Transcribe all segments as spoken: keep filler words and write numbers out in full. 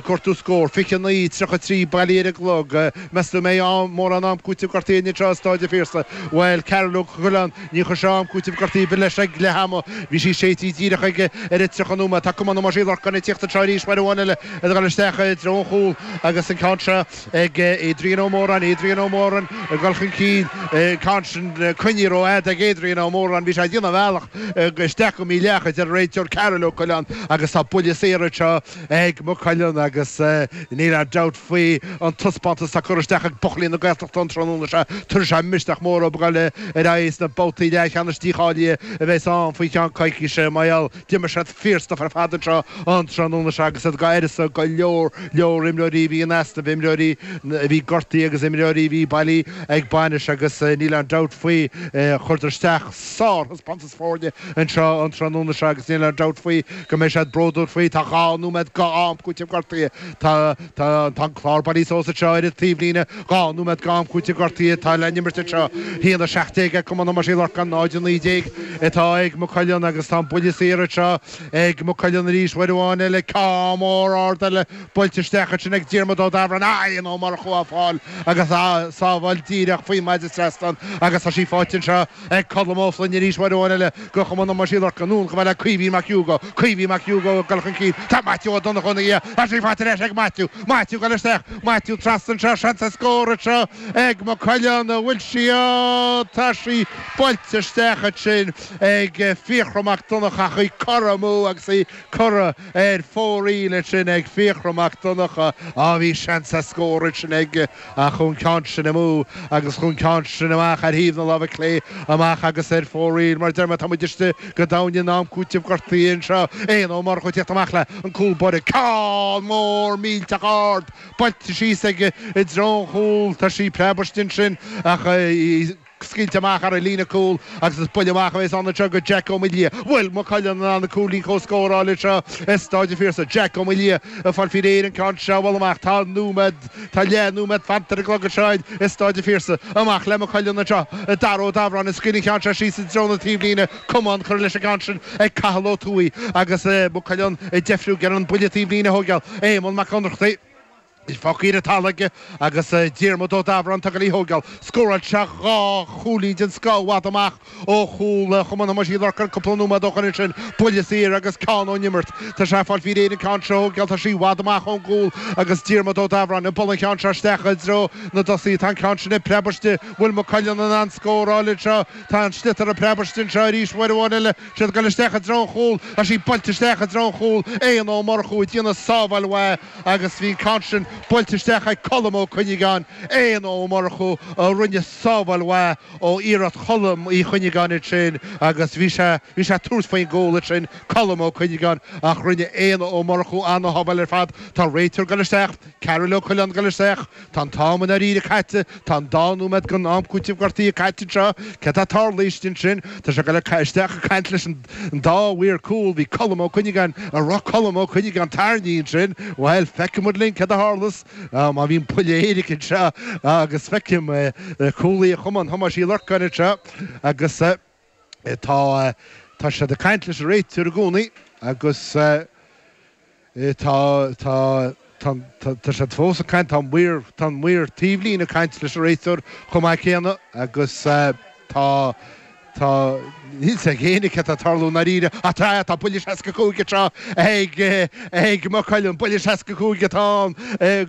Cuartú scór, fiche a naoi, tríocha a trí, bailí ar an gclog. Meas tú an mbeidh am, mórán am cúitimh gortaithe anseo i Stáid an Phiarsaigh? Bhuel, Cearbhall Ó Coileáin, ní chuir sé am cúitimh gortaithe ar bith leis ag leath ama. Bhí sí séidte díreach aige ar an tríocha nóiméad. Tá Cumann Thomáis Uí Lorcáin ag tíocht anseo arís uair amháin eile ag dul isteach i dtreo an chúil agus an ceann seo ag Adrian Ó Móráin. Adrian Ó Móráin ag dul chun cinn. An ceann sin coinnithe rófhada ag Adrian Ó Móráin. Bhí sé ag déanamh a bhealach isteach go mídhleathach, a deir an réiteoir Cearbhall Ó Coileáin agus tá buille saor anseo ag Maigh Cuilinn agus níl aon dabht faoi an taispeántas atá curtha isteach ag buachaillí na Gaeltachta an tráthnóna seo. Tabharfaidh sé misneach mór dóibh dul ar aghaidh sna babhtaí leathcheannais dícháilithe a bheas ann faoi cheann coicíse. Mar gheall, d'imir siad fíorstuif ar fad anseo an tráthnóna seo agus iad go uireasa go leor leor imreoirí a bhí in easnamh, imreoirí a bhí gortaithe agus imreoirí a bhí bailí ag bainis agus níl aon dabht faoi chuireadar isteach sárthaispeántas foirne anseo an tráthnóna seo agus níl aon dabht faoi go mbeidh siad bródúil faoi. Tá dhá nóiméad go am cúitimh gortaithe. Tá tá tá an clár bailithe suas anseo ar an taobhlíne. Dhá nóiméad go am cúitimh gortaithe atá le n-imirt anseo. Haon a seacht déag ag Cumann Thomáis Uí Lorcáin, náid a naoi déag atá ag Maigh Cuilinn agus tá an buille saor anseo ag Maigh Cuilinn arís uair amháin eile. Ceann mór ard eile buailte isteach ansin ag Diarmuid Ó Dabhráin. Éanna Ó Murchú á fáil agus á sábháil díreach faoin maide trasnán agus tá sí faighte anseo ag Colm Ó Floinn arís uair amháin eile go Chumann Thomáis Uí Lorcáin. Anonn chomh fada le Caoimhín Mac Hugo. Caoimhín Mac Hugo ag dul chun cinn. Tá Maitiú Ó Donnchú ina dhiaidh. Tá sí faighte ar ais ag Maitiú. Maitiú ag dul isteach. Maitiú trasna anseo. Seans ar scór anseo ag Maigh Cuilinn. An bhfuil sí? Ó, tá sí buailte isteach ansin ag Fiachra Mac Donncha ach í curtha amú agus í curtha ar fóraoil ansin ag Fiachra Mac Donncha. Á, bhí seans ar scór ansin aige ach chuaigh an ceann sin amú agus chuaigh an ceann sin amach ar thaobh na láimhe clé amach agus ar fóraoil. Mar a deir mé, tá muid istigh go domhain in am cúitimh gortaithe anseo. Éanna Ó Murchú ag tíocht amach le an cúl báire. Ceann mór millteach ard buailte síos aige i dtreo an chúil. Tá sí preabtha ansin ach í scaoilte amach ar an líne cúil agus is buille amach a bheas ann anseo go Jack Ó Maoildhia. Bhfuil Maigh Cuilinn in ann an cúilín comhscóir a fháil anseo i Stáid an Phiarsaigh? Jack Ó Maoildhia ag fáil faoi réir an ceann seo a bhualadh amach. Tá nóiméad, tá leath nóiméad fanta ar an gclog anseo i Stáid an Phiarsaigh. Amach le Maigh Cuilinn anseo. Dara Ó Dabhráin ag scaoileadh an ceann seo síos i dtreo na taobhlíne. Camán curtha leis an gceann sin ag Cathal Ó Tuathaigh agus Maigh Cuilinn ag deifriú ag iarraidh an buille taobhlíne a thógáil. Éamonn Mac Ionnrachtaigh. Fágtha ar an talamh aige agus Diarmuid Ó Dabhráin ag dul í thógáil. Scóráil sé dhá chúilín den scoth i bhfad amach ó chúl Chumann Thomáis Uí Lorcáin cúpla nóiméad ó shoin ansin. Buille saor agus ceann ón imirt. Tá sé ag fáil faoi réir an ceann seo a thógáil. Tá sí i bhfad amach ón gcúl agus Diarmuid Ó Dabhráin ag bualadh an cheann seo isteach i dtreo na dtosaithe. Tá an ceann sin ag preabadh istigh. Bhfuil Maigh Cuilinn in ann scóráil anseo? Tá an sliotar ag preabadh istigh anseo arís uair amháin eile. Siad ag dul isteach i dtreo an chúil. Tá sí buailte isteach i dtreo an chúil. Éanna Ó Murchú ag déanamh sábháil mhaith agus bhí an ceann sin buailte isteach ag Colm Ó Cuinneagáin. Éanna Ó Murchú a rinne sábháil mhaith ó iarracht Cholm Uí Chuinneagáin ansin agus bhí sé bhí sé ag tabhairt faoin gcúl ansin, Colm Ó Cuinneagáin, ach rinne Éanna Ó Murchú ana-shábháil ar fad. Tá réiteoir ag dul isteach, Cearbhall Ó Coileáin ag dul isteach. Tá an t-am i ndáiríre caite. Tá an dá nóiméad den am cúitimh gortaithe caite anseo. Céard atá ag tarlú istigh ansin? Tá sé ag dul isteach ag caint leis an dá mhaor cúil. Bhí Colm Ó Cuinneagáin, an raibh Colm Ó Cuinneagáin tarraingthe ansin? Bhuel, feicfidh muid linn céard a tharlas má bhíonn buille éirice anseo agus feicim cúlaí Chumann Thomáis Uí Lorcáin anseo agus tá tá siad ag caint leis an réiteoir i gcónaí agus Tá, tá, tá, tá siad fós ag caint, tá an maor, tá an maor taobhlíne ag caint leis an réiteoir chomh maith céanna agus tá, tá, níl 's ag éinne céard atá ag tarlú i ndáiríre ach tá, tá buille seasca cúig anseo ag, ag Maigh Cuilinn, buille seasca cúig atá ann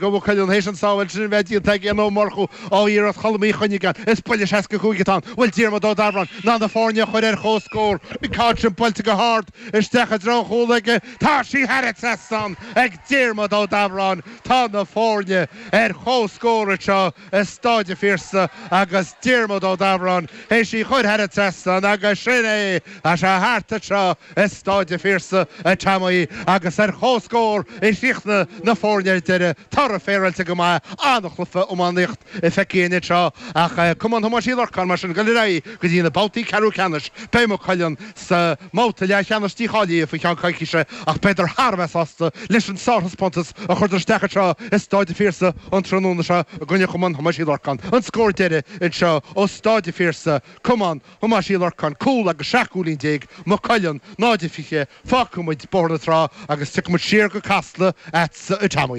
go Maigh Cuilinn théis an sábháil sin a bheith déanta ag Éanna Ó Murchú ó iarracht Cholm Uí Chuinneagáin. Is buille seasca cúig atá ann. Bhfuil Diarmuid Ó Dabhráin in ann na foirne a chur ar chomhscór? An ceann sin buailte go hard isteach i dtreo an chúil aige. Tá sí thar an trasnán ag Diarmuid Ó Dabhráin. Tá na foirne ar comhscór anseo i Stáid an Phiarsaigh agus Diarmuid Ó Dabhráin théis í chur thar an trasnán agus sin é, tá sé thart anseo i Stáid an Phiarsaigh, a Tommy, agus ar comhscór a chríochnaigh na foirne ar deireadh. Toradh féaráilte go maith, an-chluiche iománaíocht feicthe againn anseo ach Cumann Thomáis Uí Lorcáin mar sin ag dul ar aghaidh go dtí na babhtaí ceathrú ceannais. Beidh Maigh Cuilinn sa mbabhta leathcheannais dícháilithe faoi cheann coicíse ach beidar thar a bheith sásta leis an sárthaispeántas a chuireadar isteach anseo i Stáid an Phiarsaigh an tráthnóna seo i gcoinne Chumann Thomáis Uí Lorcáin. An scór deiridh anseo ó Stáid an Phiarsaigh, Cumann Thomáis Uí Lorcáin, cúl. Cúl agus seacht gcúilín déag, Maigh Cuilinn, náid a fiche. Fágfaidh muid Bóthar na Trá agus tiocfaidh muid siar go Casla agatsa a Tommy.